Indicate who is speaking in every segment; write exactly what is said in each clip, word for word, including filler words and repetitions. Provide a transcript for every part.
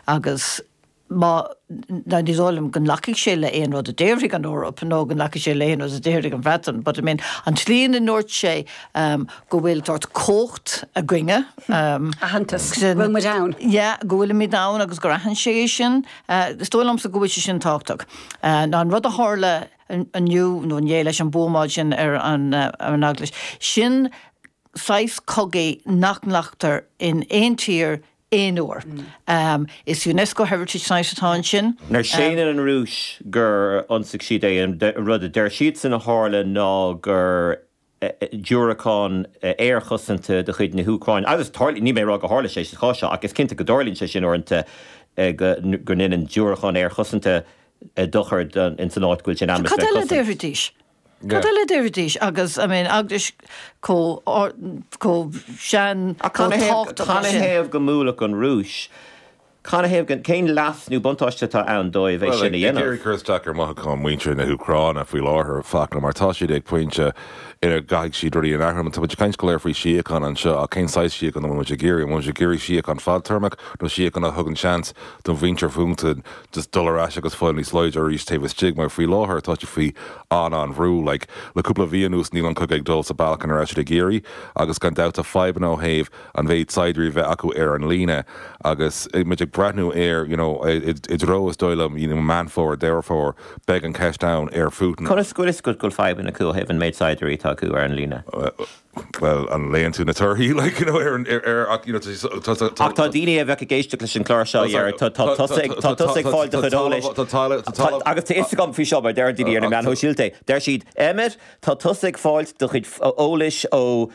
Speaker 1: Agus má ná ní dóigh liom go nglacfaidh sé le aon rud a déarfaidh an Eoraip nó go nglacfaidh sé le aon rud a déarfaidh an Bhreatain, but I mean an tslí ina ndúirt sé um, go bhfuil sórt cumhacht againne. Um,
Speaker 2: Aitheantas go bhfuil muid ann.
Speaker 1: Yeah, go bhfuilimid ann agus gur aithin sé é sin, uh, is dóigh liomsa go bhfuil sé sin tábhachtach. Uh, ná an rud a tharla inniu nó inné leis an buamáil sin ar an, uh, ar an eaglais. Sin saghas cogaidh nach nglactar in aon tír aon uair. Mm. Um, is UNESCO Heritage Site atá ansin.
Speaker 3: Nuair séanann an Rúis gur ionsaigh siad é an rud a deir siad san a tharla ná gur diúracán aerchosanta de chuid na hÚcráine. Agus ní mé rá go tharla sé sa chás seo agus cinnte go dtarlaíonn sé sin uaireanta go ndéanann diúracán aerchosanta dochar in san áit go bhfuil sin
Speaker 1: Cad eile déarfaidís? Cad eile déarfaidís agus I mean eaglais chomh chomh sean
Speaker 3: Canathaobh go mbuailfeadh an Rúis. Canathaobh cén leas nó buntáiste atá ann dóibh é sin a dhéanamh.
Speaker 4: Ag cur isteach ar mhothúcháin muintir na hÚcráine faoi láthair Fachtna mar tá siad ag pointe ina gcaithfidh siad rudaí a athrú. Tá muid ag caint go léir faoi síocháin anseo ach cén saghas síocháin an bhfuil muid ag iarraidh? An bhfuil muid ag iarraidh síocháin fadtéarmach nó síocháin a thugann seans don mhuintir Phutin just dul ar ais agus fáil níos láidre arís taobh istigh mar faoi láthair tá siad faoi an an-bhrú like, le cúpla mhí anuas níl an cogadh ag dul sa bealach ina raibh siad ag iarraidh agus gan dabht tá fadhbanna ó thaobh an mhéid saighdiúirí bheith acu ar an líne agus muid ag breathnú ar you know, i dtreo is dóigh liom you know, Meán Fómhair Deireadh Fómhair beidh an ceist ann ar Putin.
Speaker 3: Conas go bhfuil go bhfuil fadhbanna acu ó thaobh an méid saighdiúirí atá acu ar an líne.
Speaker 4: Well an léann tú na torthaí like, you know, ar, ar, ar, ach, you know, tá, tá,
Speaker 3: Ach tá daoine a bheith ag éisteacht leis an chlár seo ar tá tusa ag fáil do chuid eolais agus tá fhios agam faoi seo mar deir daoine ar na meáin shóisialta. Deir siad Emmet tá tusa ag fáil do chuid eolais ó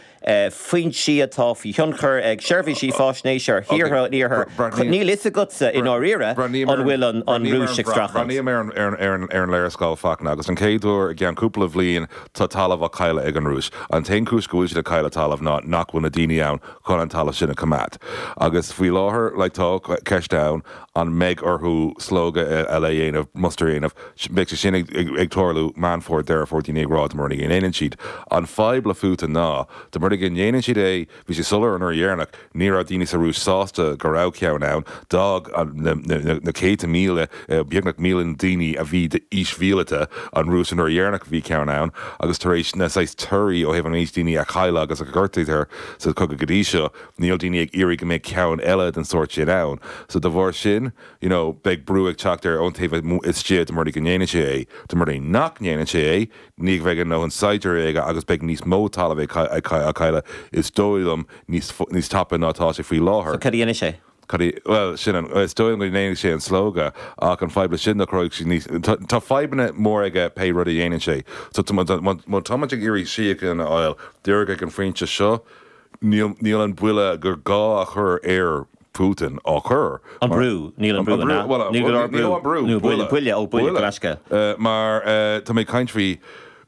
Speaker 3: foinsí atá faoi thionchar ag seirbhísí faisnéise ar thíortha an iarthair. Níl fhios agatsa i ndáiríre an bhfuil an Rúis ag streachailt.
Speaker 4: Breathnaím ar ar ar ar an léarscáil Fachtna agus an chéad uair i gceann cúpla bhliain tá talamh á cailleadh ag an Rúis. An t-aon chúis go bhfuil siad ag cailleadh talamh ná nach bhfuil na daoine ann chun an talamh sin a choimeád. Agus faoi láthair le tá ceist ann an mbeidh orthu slógadh eile a dhéanamh muster a dhéanamh, beidh sé sin ag, ag, ag tarlú Meán Fómhair Deireadh Fómhair daoine ag rá dá mba rud é go ndéanann siad. An fadhb le Putin ná dá mba rud é go ndéanann siad é bhí sé soiléir an uair dheireanach ní raibh daoine sa Rúis sásta go raibh ceann ann d'fhág na, na, na, na céadta míle beagnach míle daoine a bhí d'aois mhíleata an Rúis an uair dheireanach bhí ceann ann agus tar éis na saghas torthaí ó thaobh an méid daoine a cailleadh agus a gortaíodh sa cogadh go dtí seo níl daoine ag iarraidh go mbeidh ceann eile den sórt sin ann. So de bharr sin you know, beidh brú ag teacht ar ón taobh istigh dá mba rud é go ndéanann sé é, dá mba rud é nach ndéanann sé é, ní bheidh an ndóthain saighdiúirí aige agus beidh níos mó talamh ag cailleadh is dóigh liom níos níos tapa ná tá sé faoi láthair.
Speaker 3: So cad a dhéanfaidh sé?
Speaker 4: Cad well sin an is dóigh go ndéanfaidh sé an slógadh ach an fadhb sin nach raibh sé níos tá fadhbanna mór aige pé rud a dhéanann sé. So má tá ag iarraidh síocháin a fháil díreach ag an phointe seo níl níl an buille gur gá a chur ar Putin á chur.
Speaker 3: An brú níl an brú níl an brú nó buille buille ó buille glasca.
Speaker 4: Mar tá mé caint faoi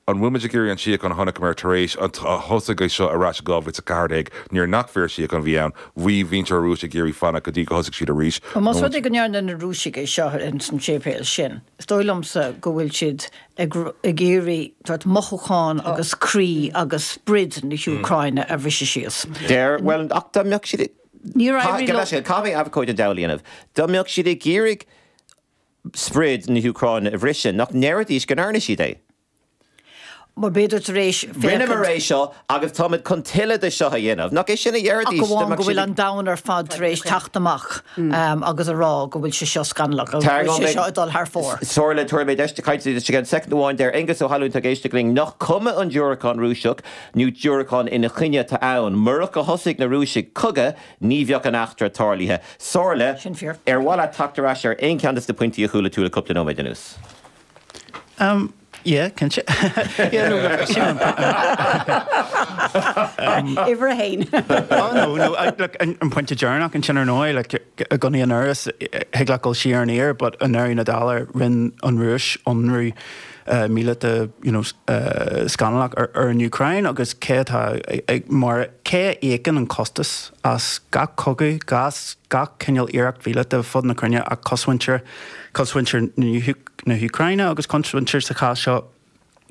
Speaker 4: an bhfuil muid ag iarraidh an síocháin a chonaiceamar tar éis an thosaigh é seo ar ais dhá mhíle ceathair déag nuair nach fíorsíocháin a bhí ann, bhí muintir Rúis ag iarraidh fanacht go dtí go thosaigh siad arís.
Speaker 1: Más rud é go ndearna na Rúisigh é seo in san séipéal sin, is dóigh liomsa go bhfuil siad ag ag iarraidh sórt mothúchán agus croí agus sprid na hÚcráine a bhriseadh síos.
Speaker 3: Deir well ach dá mbeadh siad
Speaker 1: Ní raibh
Speaker 3: sé caithfidh abhcóide an diabhal a dhéanamh. Dá mbeadh siad ag iarraidh sprid na hÚcráine a bhriseadh nach ndéarfaidís go ndearna siad é.
Speaker 1: Mar b'fhéidir tar éis
Speaker 3: Rinneamar é seo agus táimid chun tuilleadh de seo a dhéanamh. Nach é sin a dhéarfaidís
Speaker 1: Ach amháin go bhfuil an domhan ar fad tar éis teacht amach agus a rá go bhfuil sé seo scannalach agus go bhfuil sé seo ag dul thar fóir.
Speaker 3: Somhairle tabharfaidh mé deis caint duit again soicind amháin deir Aengus Ó hAlmhain tá ag éisteacht linn nach cuma an diúracán Rúiseach nó diúracán ina choinne atá ann. Murach go thosaigh na Rúisigh cogadh ní bheadh an eachtra tarlaithe. Somhairle
Speaker 1: Sin fíor.
Speaker 3: ar mhaith leat teacht ar ais ar aon cheann de na pointí a chuala tú le cúpla nóiméad anuas.
Speaker 5: Um, yeah, cinnte. yeah, no, look, sin an
Speaker 2: Uimhir a haon.
Speaker 5: Oh no, no, I, look, an, an pointe deireanach ansin ar ndóigh, like, i gconaí an uras thig leat dul siar aniar, but i ndeireadh na dála rinne an Rúis ionradh uh, míleata you know, uh, scannalach ar, ar an Úcráin agus cé atá ag mar cé a íocann an costas as gach cogadh gas gach cineál iarracht mhíleata fud na cruinne ach cosmhuintir cosmhuintir na hÚcráine agus cosmhuintir sa chás seo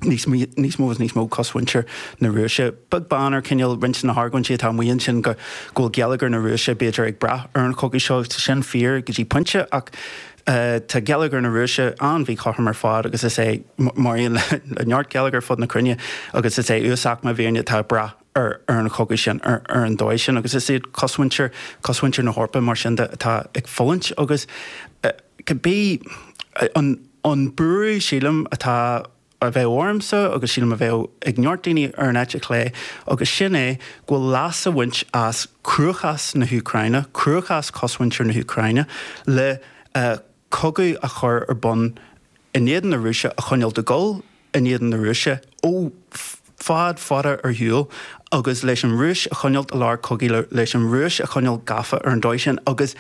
Speaker 5: níos níos mó is níos mó cosmhuintir na Rúise. Beag beann ar cineál roinnt na hargóintí atá amuigh ansin go go bhfuil geilleagar na Rúise b'fhéidir ag brath ar an chogadh seo sin fíor go dtí pointe ach uh, tá geilleagar na Rúise an-mhíchothrom ar fad agus is é mar aon le neart geilleagar fud na cruinne agus is é uasaicme i bhfírinne atá ag brath ar ar an chogadh sin ar ar an dóigh sin agus is iad cosmhuintir cosmhuintir na hEorpa mar sin de atá ag fulaingt agus uh, cibé an an buaireamh sílim atá a bheith ormsa agus sílim a bheith ag neart daoine ar an eite chlé agus sin é go bhfuil leas á bhaint as cruachás na hÚcráine, cruachás cosmhuintir na hÚcráine le uh, cogadh a chur ar bun in éadan na Rúise a choinneáil ag dul in éadan na Rúise ó fad fada ar shiúl agus leis an Rúis a choinneáil i lár cogaidh leis an Rúis a choinneáil gafa ar an dóigh sin agus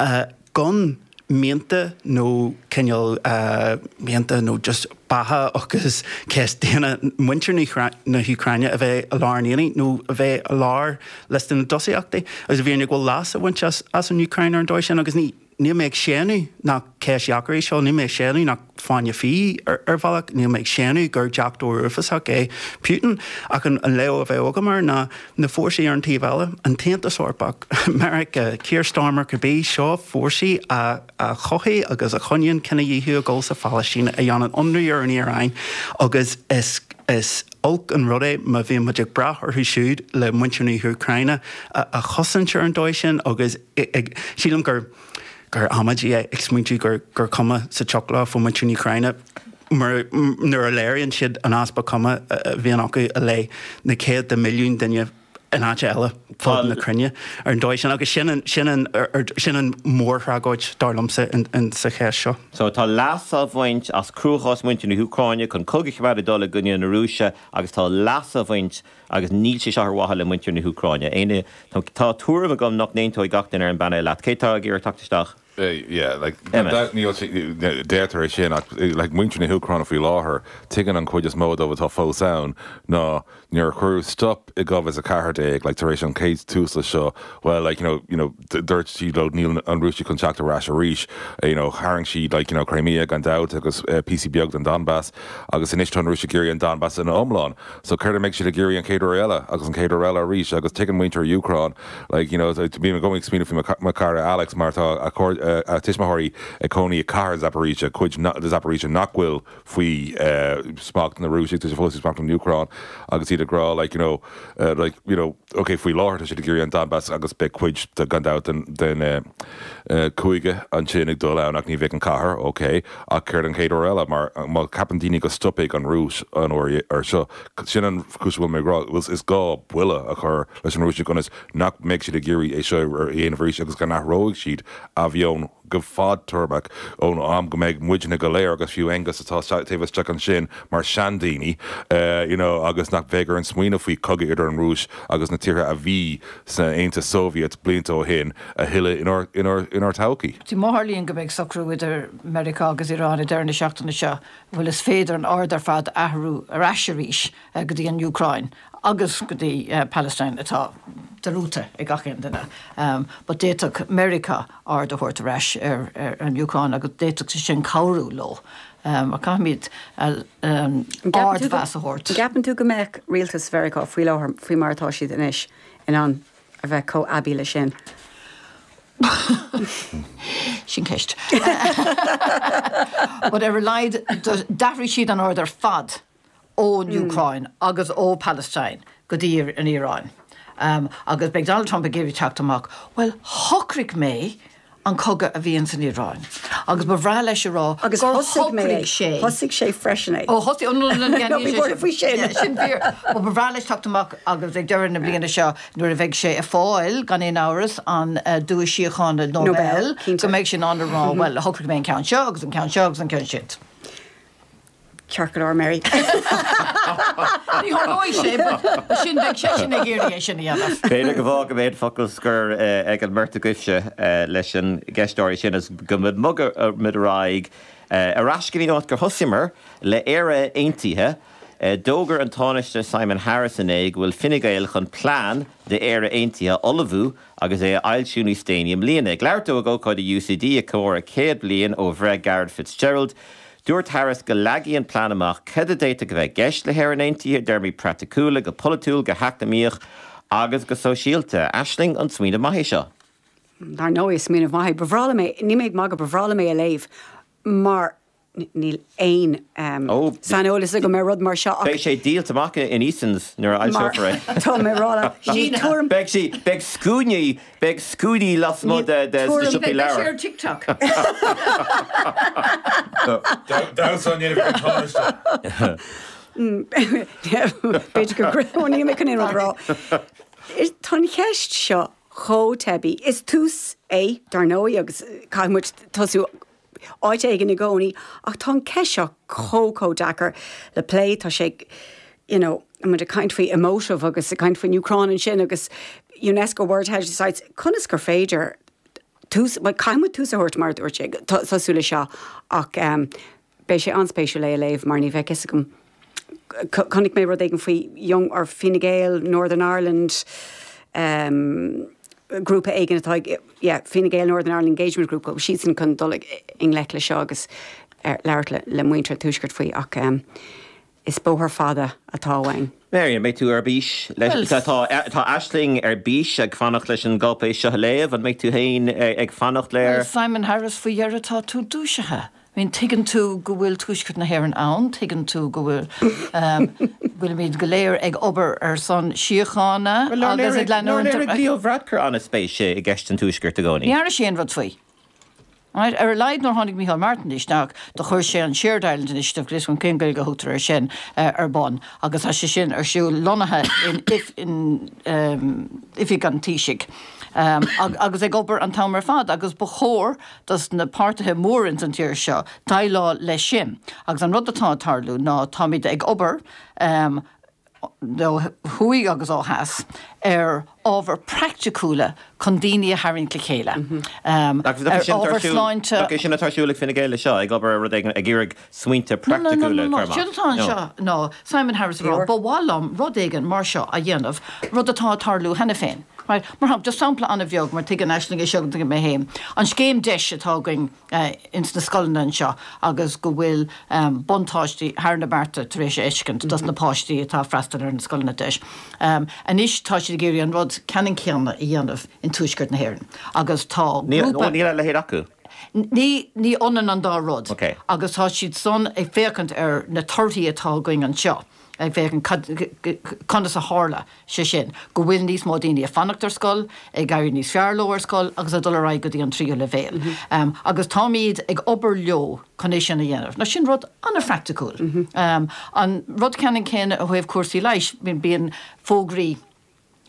Speaker 5: uh, gan mianta nó cineál uh, mianta nó just beatha agus ceist daonna muintir na hÚcráine a bheith i lár an aonaigh nó a bheith i lár liosta na dtosaíochtaí agus a bhí go bhfuil leas á bhaint as, as an Úcráin ar an dóigh sin agus ní Níl mé ag séanadh nach ceist dheacair í seo, níl mé ag séanadh nach fáinne fí ar, ar bhealach, níl mé ag séanadh gur deachtóir uafásach é Putin ach an, an léamh a bheith agam air ná na fórsaí ar an taobh eile, an tAontas Eorpach, Meiriceá, Keir Starmer cibé seo fórsaí a, a chothaigh agus a choinníonn cinedhíothú ag dul sa Phalaistín a dhéanann ionradh ar an Iaráin agus is is olc an rud é má bhíonn muid ag brath orthu siúd le muintir na hÚcráine a, a chosaint ar an dóigh sin agus ag, sílim gur gur amaidí é ag smaointiú gur gur cuma sa tsioc leo faoi muintir na hÚcráine mar nuair a léiríonn siad an easpa cuma a bhíonn acu i leith na céadta milliún duine in áit eile fud na cruinne ar an dóigh sin agus sin an sin an sin an mhórthragóid dar liomsa in, in sa cheist seo.
Speaker 3: So tá leas á bhaint as cruachás muintir na hÚcráine chun cogadh a choimeád ag dul i gcoinne na Rúise agus tá leas á bhaint agus níl sé seo ar mhaithe le muintir na hÚcráine. Éanna tá tuairim agam nach n-aontóidh gach duine ar an bpainéal leat. Cé tá ag iarraidh teacht isteach?
Speaker 4: Yeah, like that níl deirtear é sin ach like muintir na hÚcráine faoi láthair tuigeann an chuid is mó dóibh atá fós ann ná nuair a cuireadh stop i dhá mhíle is a ceathair déag like tar éis an chéad tuisle seo well like you know you know dúirt siad leo níl an Rúis chun teacht ar ais arís you know tharraing siad like you know Crimea gan dabht agus uh, píosa beag den Donbass agus anois tá an Rúis ag iarraidh an Donbass ina iomlán so céard a mbeidh siad ag iarraidh an chéad uair eile agus an chéad uair eile arís agus tuigeann muintir Úcráin like you know bím i gcónaí ag smaoineamh faoi mo chara Alex mar tá a a tuismitheoirí ag cónaí i cathair Zaporizhia cuid de Zaporizhia nach bhfuil faoi uh, smacht na Rúise tá sé fós faoi smacht na Úcráin agus iad ag rá like you know uh, like you know okay faoi láthair tá siad ag iarraidh an Donbass agus beidh cuid de gan dabht den den uh, uh, cúige ansin ag dul ann ach ní bheidh an cathair okay ach céard an chéad uair eile mar má cheapann daoine go stopfaidh an Rúis an uair ar seo sin an chúis bhfuil mé ag rá is gá buille a chur leis an Rúis ionas nach mbeidh siad ag iarraidh é seo a dhéanamh arís agus go n-athróidh siad a mheon go fadtéarmach ón am go mbeidh muidne go léir agus fiú Aengus atá taobh istigh ansin mar seandaoine uh, you know, agus nach bheidh ar an smaoineamh faoi chogadh idir an Rúis agus na tíortha a bhí san Aontas Soviet blianta ó shin a thuilleadh inár, inár, inár todhchaí.
Speaker 1: Má tharlaíonn go mbeidh socrú idir Meiriceá agus Iran i deireadh na seachtaine seo, bhuel is féidir an aird ar fad a athrú ar ais arís uh, go dtí an Úcráin agus go dtí uh, Palestine atá dearmadta ag gach aon duine. Um, but d'fhéadfadh Meiriceá aird a thabhairt ar ais ar, ar an Úcráin agus d'fhéadfadh sé sin cabhrú leo. Um, a caithfimid uh, um, ardmheas a thabhairt.
Speaker 2: Ceapann tú go mbeadh rialtas Mheiriceá faoi láthair faoi mar atá siad anois in ann a bheith chomh aibí leis sin.
Speaker 1: Sin ceist. But ar a laghad d'athraigh siad an aird ar fad ón mm. Úcráin agus ó Palestine go dtí an Iaráin. Um, agus beidh Donald Trump ag iarraidh teacht amach, well shocraigh mé an cogadh a bhíonn san Iaráin. Agus ba bhreá leis a rá
Speaker 2: Agus
Speaker 1: gur
Speaker 2: thosaigh mé
Speaker 1: shocraigh sé.
Speaker 2: Thosaigh sé freisin é.
Speaker 1: Ó thosaigh
Speaker 2: Ní faoi sin.
Speaker 1: sin fíor. Ba bhreá leis teacht amach agus ag deireadh na bliana seo nuair a bheidh sé ag fáil gan aon amhras an uh, duais síochána Nobel,
Speaker 2: Nobel, cinnte.
Speaker 1: go mbeidh sin an rá well shocraigh mé an ceann seo agus an ceann seo agus an ceann sin.
Speaker 2: Ceart go leor Mary.
Speaker 1: Ní tharlóidh sé sin bheidh sé sin ag iarraidh é sin a dhéanamh.
Speaker 3: B'fhéidir go bhfág go mbeidh focal scoir ag an mbeirt agaibhse leis an gceist sin is go mbogfaimid ar aghaidh ar ais go dtí an áit gur thosaíomar le Éire Aontaithe. D'fhógair an Tánaiste Simon Harris inné go bhfuil Fine Gael chun plean d'Éire Aontaithe a ullmhú agus é a fhoilsiú níos déanaí i mbliana. Ag labhairt dó ag ócáid UCD ag comóradh céad bliain ó bhreith Garret FitzGerald. Dúirt Harris go leagfaidh an plean amach cad a d'fhéadfadh a bheith i gceist le hÉirinn Aontaithe i dtéarmaí praiticiúla, go polaitiúil, go heacnamaíoch agus go sóisialta. Aisling, an smaoineamh maith é seo?
Speaker 2: Dar ndóigh, is smaoineamh maith é. Ba bhreá liom é, níl mé ag magadh, ba bhreá liom é a léamh mar níl aon saineolas agam ar rud mar seo ach.
Speaker 3: Beidh sé díolta amach in Easons nuair a fhoilseofar é.
Speaker 2: Tá mé ag rá leat, níl tuairim.
Speaker 3: Beidh sí, beidh scuainí, beidh scuainí lasmuigh de de sna siopaí
Speaker 1: leabhar. Beidh sé
Speaker 3: ar
Speaker 1: TikTok.
Speaker 4: Damhsa á ndéanamh ag an Tánaiste.
Speaker 2: B'fhéidir gur, níl mé chun aon rud a rá. Tá an cheist seo chomh teibí. Is tús é, dar ndóigh, agus caithfidh muid tosú áit éigin i gcónaí, ach tá an ceist seo chomh chomh deacair le plé, tá sé, you know, muid ag caint faoi emotive agus ag caint faoin Úcráin ansin agus UNESCO World Heritage Sites, conas gur féidir tús, bhuel caithfidh muid tús a thabhairt mar a dúirt sé, tosú le seo ach beidh sé an-spéisiúil é a léamh mar ní bheadh fhios agam, chonaic mé rud éigin faoi Young or Fine Gael Northern Ireland, um, grúpa éigin atá ag, yeah, Fine Gael Northern Ireland Engagement Group, go bhfuil siadsan chun dul i ngleic le seo agus labhairt le, le muintir an Tuaiscirt faoi ach um, is bóthar fada atá uainn.
Speaker 3: Mary, an mbeidh tú ar bís leis, tá, tá, tá Aisling ar bís ag fanacht leis an gcáipéis seo a léamh, an mbeidh tú féin ag fanacht le?
Speaker 1: Well, Simon Harris, faoi dheireadh tá tú dúisithe. I mean, tuigeann tú go bhfuil Tuaisceart na hÉireann ann, tuigeann tú go bhfuil, bhfuilimid go léir ag obair ar son síochána
Speaker 3: Bhuel, nár
Speaker 1: agus ag
Speaker 3: léirigh, nár
Speaker 1: leanúint ar
Speaker 3: léirigh Leo Varadkar an-spéis i gceist an Tuaiscirt i gcónaí?
Speaker 1: Ní dhearna sé aon rud faoi. Right? Ar a laghad nuair tháinig Micheál Martin isteach, do chuir sé an Shared Ireland Initiative, níl a fhios agam cén Gaeilge a thugtar air sin, ar bun agus tá sé sin ar siúl lonnaithe in, in oifig an Taoisigh. Agus ag obair an t-am ar fad agus ba chóir dos na páirtithe móra ins an tír seo déileáil leis sin. Agus an rud atá ag tarlú ná táimid ag obair ó thuaidh agus ó theas ar ábhair praiticiúla chun daoine a tharraingt le chéile, ar ábhair sláinte.
Speaker 3: Nach é sin atá ar siúl ag Fine Gael leis seo, ag obair ar rud éigin, ag iarraidh smaointe
Speaker 1: No, no, no,
Speaker 3: praiticiúla
Speaker 1: no,
Speaker 3: a
Speaker 1: no.
Speaker 3: chur amach?
Speaker 1: Séard atá anseo ná Simon Harris ag rá, ba mhaith liom rud éigin mar seo a dhéanamh, rud atá ag tarlú cheana féin. Right, mar shampla, just sampla an-bheag, mar tuigeann Aisling é seo agus tuigim mé féin, an scéim DEIS atá againn ins na scoileanna anseo agus go bhfuil buntáistí thar na bearta tar éis a fheiscint dos na páistí atá ag freastal ar na scoileanna DEIS. Anois tá siad ag iarraidh an rud ceannann céanna a dhéanamh in Tuaisceart na hÉireann agus tá grúpa.
Speaker 3: Níl a leithéid acu.
Speaker 1: Ní, ní ionann an dá rud agus tá siad san ag féachaint ar na torthaí atá againn anseo. ag féachaint cad, conas a tharla sé sin, go bhfuil níos mó daoine ag fanacht ar scoil, ag éirí níos fearr leo ar scoil agus ag dul ar aghaidh go dtí an tríú leibhéal. Agus táimid ag obair leo chun é sin a dhéanamh. Now sin rud an-phraiticiúil. An rud ceannann céanna ó thaobh cúrsaí leighis, bíonn fógraí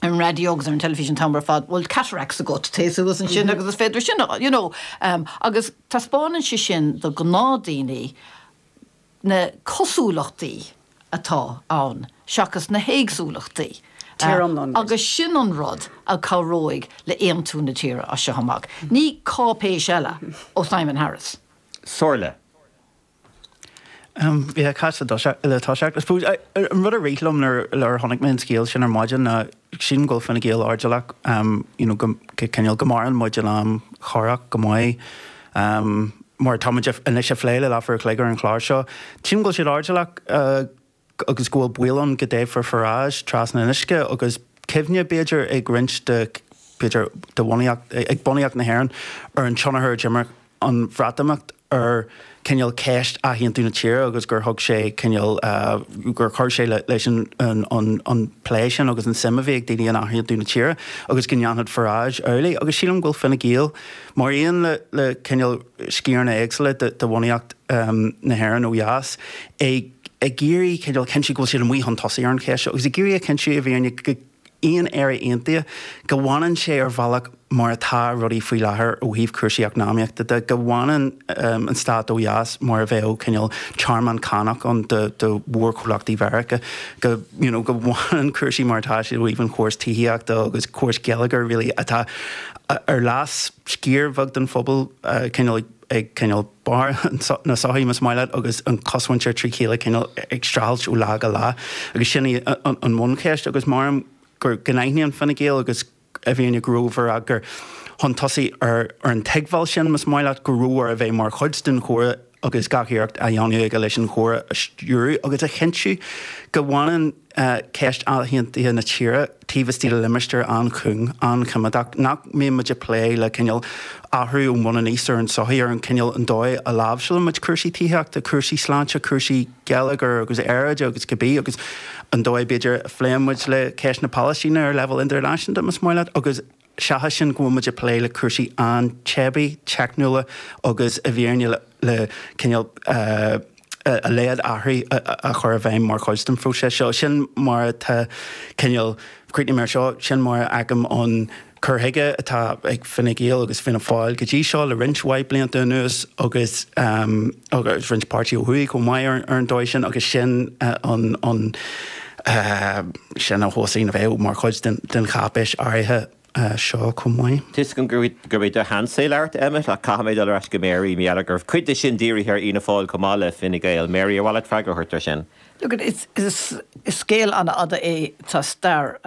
Speaker 1: ar an raidió agus ar an teilifís an t-am ar fad, bhfuil cataracts agat, téigh suas ansin agus is féidir sin a, you know. Agus taispeánann sé sin do ghnáthdhaoine na cosúlachtaí atá ann seachas na héagsúlachtaí.
Speaker 2: Tír iomlán.
Speaker 1: Agus sin an rud a chabhróidh le aontú na tíre as seo amach. Ní cáipéis eile ó Simon Harris.
Speaker 3: Somhairle.
Speaker 5: Yeah, cá le toiseacht. I suppose, an rud a rith liom nuair a chonaic mé an scéal sin ar maidin ná sílim go bhfuil Fine Gael airdeallach, you know, go cineál go maireann muid in am chorrach go maith. Mar tá muid anois ag plé le leathuair a chloig ar an chlár seo. Sílim go bhfuil siad airdeallach agus go bhfuil baol ann go dtoghfar Farage trasna an uisce agus cuimhne, b'fhéidir, ag roinnt de, b'fhéidir, de bhunaíocht, ag bunaíocht na hÉireann ar an tionchar a d'imir an Bhreatimeacht ar cineál ceist athaontú na tíre agus gur thug sé cineál, gur chuir sé leis an an plé sin agus an suim a bhí ag daoine in athaontú na tíre agus go ndéanfadh Farage amhlaidh. Agus sílim go bhfuil Fine Gael, mar aon le le cineál sciaranna éagsúla de bhunaíocht na hÉireann ó dheas, ag ag iarraidh cineál cinntiú go bhfuil siad amuigh chun tosaigh ar an cheist seo agus ag iarraidh a chinntiú i bhfírinne go aon Éire aontaithe, go bhfanann sé ar bhealach mar atá rudaí faoi láthair ó thaobh cúrsaí eacnamaíochta de, go bhfanann an stát ó dheas mar a bheadh cineál tearmann cánach ann do do mhórchomhlachtaí Mheiriceá, go you know go bhfanann cúrsaí mar atá siad ó thaobh an chórais tithíochta agus córas geilleagair really atá ar leas sciar bheag den phobal cineál ag ag cineál barr na sochaí, más maith leat, agus an chosmhuintir trí chéile cineál ag streachailt ó lá go lá. Agus sin í an bhuncheist agus measaim go n-aithníonn Fine Gael agus i bhfírinne go raibh Varadkar chun tosaigh ar an tuigbheáil sin, más maith leat, go raibh air a bheith mar chuid den chomhrá agus gach iarracht á dhéanamh aige leis an chomhrá a stiúradh agus a chinntiú go bhfanann ceist athaontaithe na tíre taobh istigh de limistéar an-chúng, an-choimeádach, nach mbíonn muid ag plé le cineál athrú ón bhun aníos ar an tsochaí, ar an cineál an dóigh a láimhseálann muid cúrsaí tithíochta, cúrsaí sláinte, cúrsaí geilleagair agus aeráide agus cibé agus an dóigh b'fhéidir a phléann muid le ceist na Palaistíne ar leibhéal idirnáisiúnta más maith leat agus seachas sin go bhfuil muid ag plé le cúrsaí an-teibí, teicniúla agus i bhfírinne le cineál a leithéid athraithe a chur i bhfeidhm mar chuid den phróiseas seo. Sin mar atá cineál, críochnaím air seo, sin mar a fheicim an cur chuige atá ag Fine Gael agus Fianna Fáil go dtí seo le roinnt mhaith blianta anuas agus agus roinnt páirtí ó thuaidh chomh maith ar an dóigh sin agus sin an an sin a thosaíonn a bheith mar chuid den den cháipéis áirithe seo chomh maith.
Speaker 3: Tá 'fhios agam gurb é do sheans é labhairt, Emmet, ach caithfidh mé dul ar ais go Mary, mar gheall gur cuid de sin dírithe ar Fhianna Fáil chomh maith le Fine Gael. Mary, ar mhaith leat freagra a thabhairt ar sin?
Speaker 1: Look, is is scéal an-fhada é, tá stair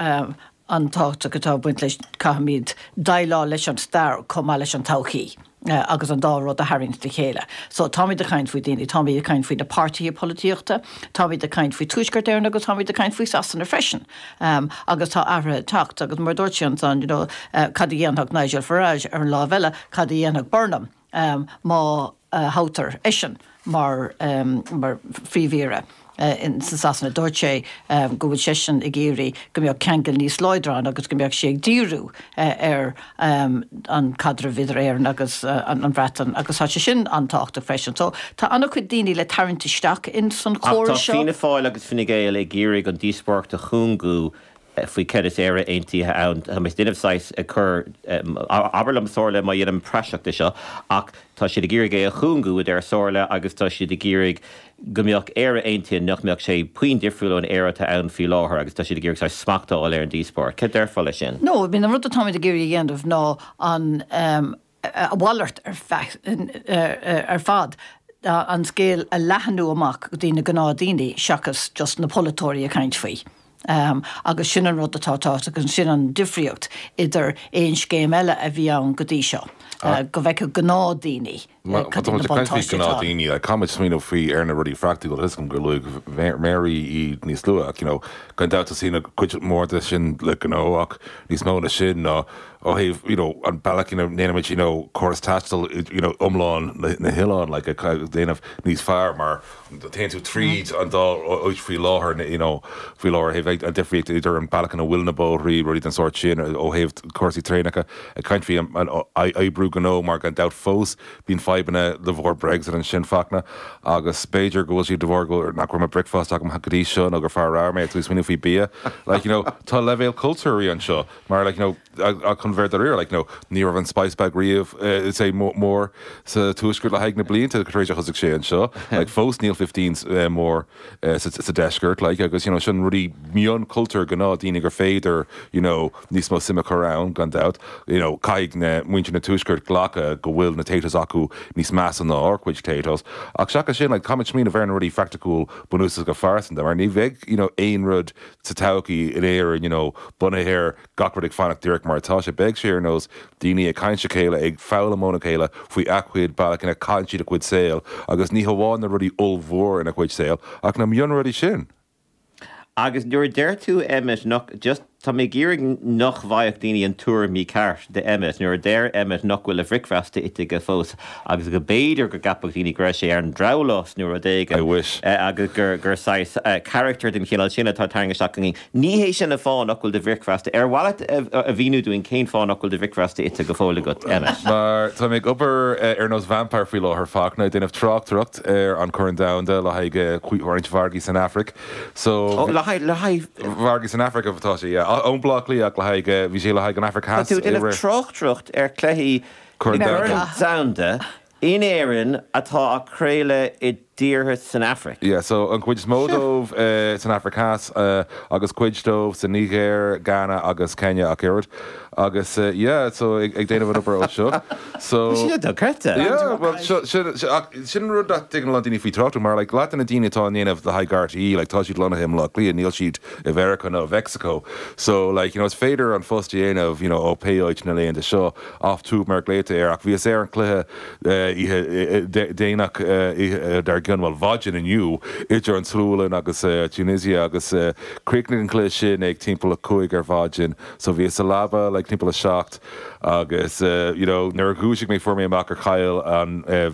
Speaker 1: an-tábhachtach atá ag baint leis, caithfimid déileáil leis an stair chomh maith leis an todhchaí agus an dá rud a tharraingt le chéile. So táimid ag caint faoi daoine, táimid ag caint faoi na páirtithe polaitíochta, táimid ag caint faoi Tuaisceart Éireann agus táimid ag caint faoi Sasana freisin. Agus tá athruithe ag teacht agus mar a dúirt sé ansan, you know, cad a dhéanfadh Nigel Farage ar an lámh eile, cad a dhéanfadh Burnham má thoghtar eisean mar mar phríomh-aoire in sa Sasana. Dúirt sé go bhfuil seisean ag iarraidh go mbeadh ceangal níos láidre ann agus go mbeadh sé ag díriú ar an caidreamh idir Éirinn agus an Bhreatain agus tá sé sin an-tábhachtach freisin. So tá an-chuid daoine le tarraingt isteach in san
Speaker 3: Ach tá
Speaker 1: chóras seo.
Speaker 3: Fianna Fáil agus Fine Gael ag iarraidh an díospóireacht a chúngú faoi céard is Éire Aontaithe ann. Tá mé ag déanamh saghas ag cur, abair liom Somhairle má dhéanaim praiseach de seo, ach tá siad ag iarraidh é a chúngú a deir Somhairle agus tá siad ag iarraidh go mbeadh Éire Aontaithe nach mbeadh sé puinn difriúil ón Éire atá ann faoi láthair agus tá siad ag iarraidh saghas smacht a fháil ar an díospóireacht. Cad déarfá leis sin?
Speaker 1: No, I mean an rud atáimid ag iarraidh a dhéanamh ná an a mhalairt ar ar fad, an scéal a leathnú amach go dtí na gnáthdaoine seachas just na polaiteoirí ag caint faoi. Agus sin an rud atá tábhachtach agus sin an difríocht idir aon scéim eile a bhí ann go dtí seo, go bhfeicfeadh gnáthdaoine
Speaker 4: cad iad na buntáistí atá ann. Gnáthdaoine, like, caithfimid smaoineamh faoi ar na rudaí praiticiúla, tá 'fhios agam gur luaigh Mary iad níos luaithe ach, you know, gan dabht tosaíonn cuid mhór de sin le gnó ach níos mó na sin ná ó thaobh, you know, an bealach ina ndéanaimid, you know, córas taistil, you know, iomlán na hoileáin, like, a dhéanamh níos fearr mar téann tú tríd an dá áit faoi láthair, you know, faoi láthair, thaobh an difríocht idir an bealach ina bhfuil na bóithrí, rudaí den sórt sin, ó thaobh cúrsaí traenacha, ag caint faoi an oibriú gnó mar gan dabht fós bíonn fadhbanna de bharr Brexit ansin Fachtna agus b'fhéidir go bhfuil siad de bharr go nach raibh mo bricfeasta agam go dtí seo nó gur fear ramhar mé ag tú smaoineamh faoi bia like you know tá leibhéal cultúir anseo mar like you know chun bheith dáiríre like you know ní raibh an spice bag riamh say mór sa tuaisceart le haghaidh na blianta tar éis a thosaigh sé anseo like fós níl fifteens mór sa deisceart like agus you know sin rudaí mionchultúir gnáthdaoine gur féidir you know níos mó suim a chur ann gan dabht you know caithfidh na muintir na tuaisceart glacadh go bhfuil na Taytos acu níos measa ná ár gcuid Taytos ach seachas sin like caithfimid smaoineamh ar na rudaí praiticiúil bunúsacha phearsanta mar ní bheidh you know aon rud sa todhchaí in Éirinn you know bunaithe ar gach rud ag fanacht díreach mar atá sé. Beidh sé ar nós daoine ag caint le chéile, ag foghlaim óna chéile faoi a gcuid bealach ina gcaitheann siad a gcuid saoil agus ní hamháin na rudaí ollmhór ina gcuid saoil ach na mionrudaí sin.
Speaker 3: Agus nuair a deir tú Emmet nach, just, tá mé ag iarraidh nach bhfaigheadh daoine an tuairim mícheart de Emmet, nuair a deir Emmet nach bhfuil a bhricfeasta ite aige fós agus go b'fhéidir go gceapfadh daoine go raibh sé ar an drabhlás nó rud éigin
Speaker 4: I wish.
Speaker 3: agus gur, gur saghas carachtar den chineál sin atá tarraingthe isteach againn. Ní hé sin an fáth nach bhfuil do bhricfeasta, ar mhaith leat a mhíniú dúinn cén fáth nach bhfuil do bhricfeasta ite go fóill agat, Emmet?
Speaker 4: Mar tá mé ag obair ar nós vampire faoi láthair, Fachtna, ag déanamh tráchtaireacht ar an Chorn Domhanda le haghaidh roinnt mhargaí san Afraic. So.
Speaker 3: Ó, le haghaidh, le haghaidh.
Speaker 4: Mhargaí san Afraic atá sé, yeah. Ón Bleá Cliath ach le haghaidh, bhí sé le haghaidh an Afraic
Speaker 3: Tá
Speaker 4: Theas
Speaker 3: tú ag
Speaker 4: i
Speaker 3: déanamh
Speaker 4: rith.
Speaker 3: tráchtaireacht ar chluichí
Speaker 4: Corn
Speaker 3: Corn
Speaker 4: Domhanda.
Speaker 3: Domhanda in Éirinn atá á craoladh i dtíortha san Afraic.
Speaker 4: Yeah, so an cuid is mó dóibh uh, san Afraic Theas uh, agus cuid dóibh sa Nigéir, Ghana agus Kenya ach oiread. Agus uh, yeah, so ag, ag déanamh an obair ó seo. So
Speaker 3: Sin dochreidte.
Speaker 4: Yeah, well, seo- sin sin- ach sin rud nach dtuigeann a lán daoine faoi trácht mar like, leat na daoine atá ag déanamh le haghaidh RTÉ, like, tá siad lonnaithe i mBleá Cliath, níl siad i Meiriceá nó Mexico. So like, you know, is féidir an phost a dhéanamh, you know, ó pé áit na laethanta seo off tube mar glaoite air ach bhíos ar an cluiche uh, déanach uh, dar gcionn well maidin inniu idir an tSualainn agus uh, Tunisia agus uh, chríochnaigh an cluiche sin ag timpeall a cúig ar maidin, so bhíos sa leaba like timpeall a seacht agus uh, you know, nuair a dhúisigh mé fuair mé amach ar chaill an uh,